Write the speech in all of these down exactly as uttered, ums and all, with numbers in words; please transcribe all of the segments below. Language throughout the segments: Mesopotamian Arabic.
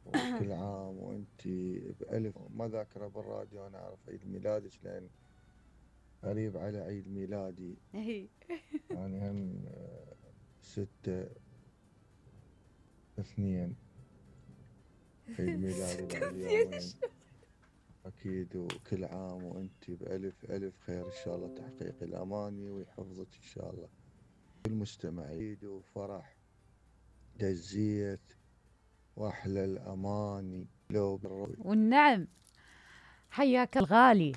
وكل عام وانت بألف. ما ذاكرة بالراديو انا اعرف عيد ميلادك لان قريب على عيد ميلادي. يعني هم ستة اثنين عيد ميلادي بعد يومين اكيد. وكل عام وانت بألف ألف خير ان شاء الله، تحقيق الاماني ويحفظك ان شاء الله. المستمعين وفرح دزيت واحلى الاماني لو والنعم. حياك الغالي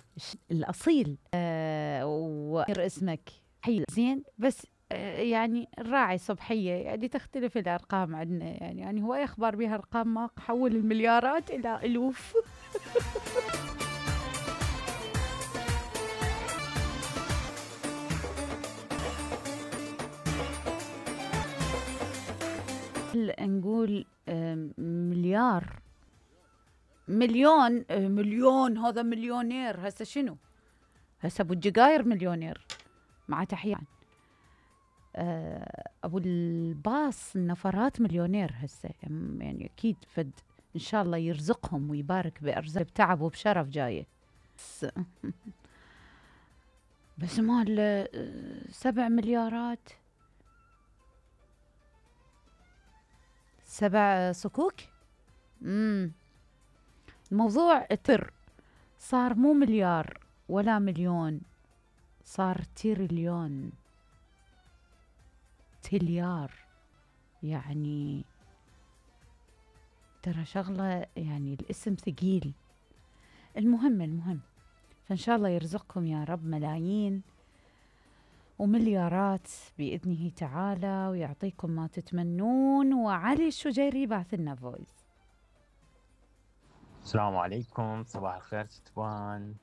الاصيل. أه وغير اسمك حي زين، بس أه يعني الراعي صبحيه يعني تختلف الارقام عندنا، يعني يعني هو يخبر بها ارقام ما حول المليارات الى الوف. نقول مليار مليون مليون هذا مليونير. هسه شنو؟ هسه ابو الجقاير مليونير مع تحية. ابو الباص النفرات مليونير هسه، يعني اكيد فد ان شاء الله يرزقهم ويبارك بارزاق بتعب وبشرف جايه. بس مال سبع مليارات سبع صكوك. امم الموضوع تر صار مو مليار ولا مليون، صار تريليون تليار. يعني ترى شغلة، يعني الاسم ثقيل. المهم المهم فإن شاء الله يرزقكم يا رب ملايين ومليارات بإذنه تعالى ويعطيكم ما تتمنون. وعلي الشجيري بعث لنا فويس. السلام عليكم، صباح الخير ستوان،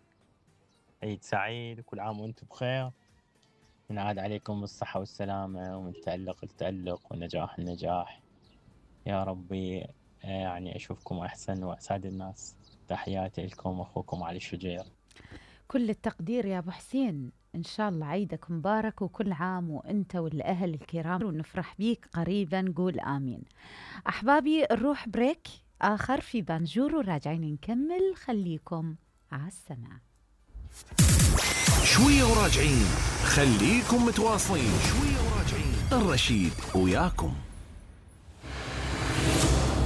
عيد سعيد وكل عام وانتم بخير. ينعاد عليكم بالصحة والسلامة ومن تألق لتألق ونجاح لنجاح يا ربي. يعني أشوفكم أحسن وأسعد الناس. تحياتي لكم أخوكم علي الشجير. كل التقدير يا أبو حسين، إن شاء الله عيدك مبارك وكل عام وأنت والأهل الكرام ونفرح بيك قريبا. قول آمين. أحبابي نروح بريك آخر في بانجور وراجعين نكمل. خليكم على السمع. شوية وراجعين، خليكم متواصلين. شوية وراجعين، الرشيد وياكم.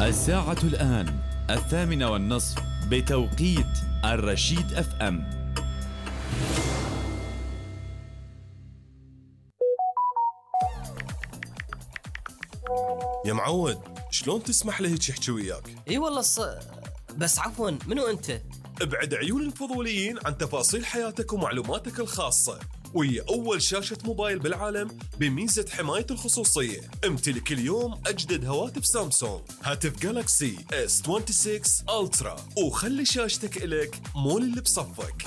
الساعة الآن الثامنة والنصف بتوقيت الرشيد اف ام. يا معود، شلون تسمح له هيك يحكي وياك؟ اي والله الص... بس عفوا، منو انت؟ ابعد عيون الفضوليين عن تفاصيل حياتك ومعلوماتك الخاصة، وهي أول شاشة موبايل بالعالم بميزة حماية الخصوصية. امتلك اليوم أجدد هواتف سامسونج، هاتف جالاكسي اس ستة وعشرين ألترا، وخلي شاشتك إلك مو اللي بصفك.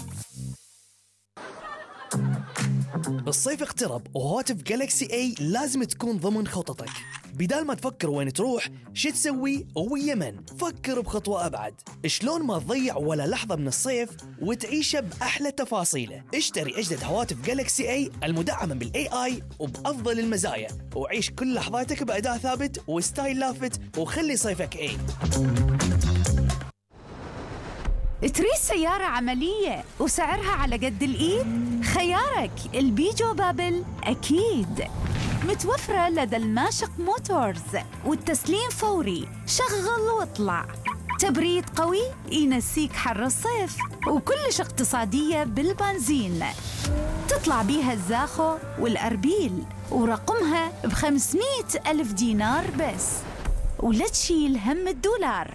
الصيف اقترب وهواتف جالكسي اي لازم تكون ضمن خططك. بدال ما تفكر وين تروح شو تسوي ويمن، فكر بخطوة أبعد. شلون ما تضيع ولا لحظة من الصيف وتعيشه بأحلى تفاصيله. اشتري أجدد هواتف جالكسي اي المدعمة بالاي اي وبأفضل المزايا، وعيش كل لحظاتك بأداء ثابت وستايل لافت، وخلي صيفك اي. تريد سيارة عملية وسعرها على قد الإيد؟ خيارك البيجو بابل أكيد. متوفرة لدى الماشق موتورز، والتسليم فوري. شغل واطلع. تبريد قوي ينسيك حر الصيف، وكلش اقتصادية بالبنزين. تطلع بيها الزاخو والأربيل، ورقمها بخمسمية ألف دينار بس، ولا تشيل هم الدولار.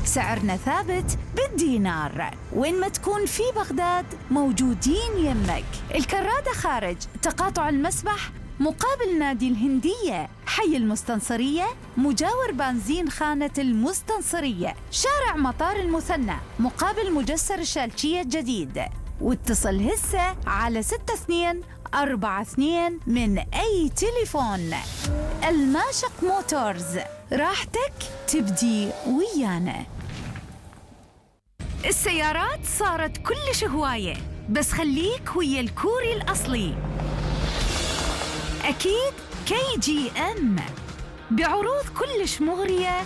سعرنا ثابت بالدينار، وين ما تكون في بغداد موجودين يمك. الكرادة خارج تقاطع المسبح مقابل نادي الهندية، حي المستنصرية مجاور بنزين خانة المستنصرية، شارع مطار المثنى مقابل مجسر الشالشية الجديد. واتصل هسه على ستة اثنين أربعة اثنين من أي تليفون. الماشق موتورز، راحتك تبدي ويانا. السيارات صارت كلش هواية، بس خليك ويا الكوري الأصلي. أكيد كي جي أم بعروض كلش مغرية.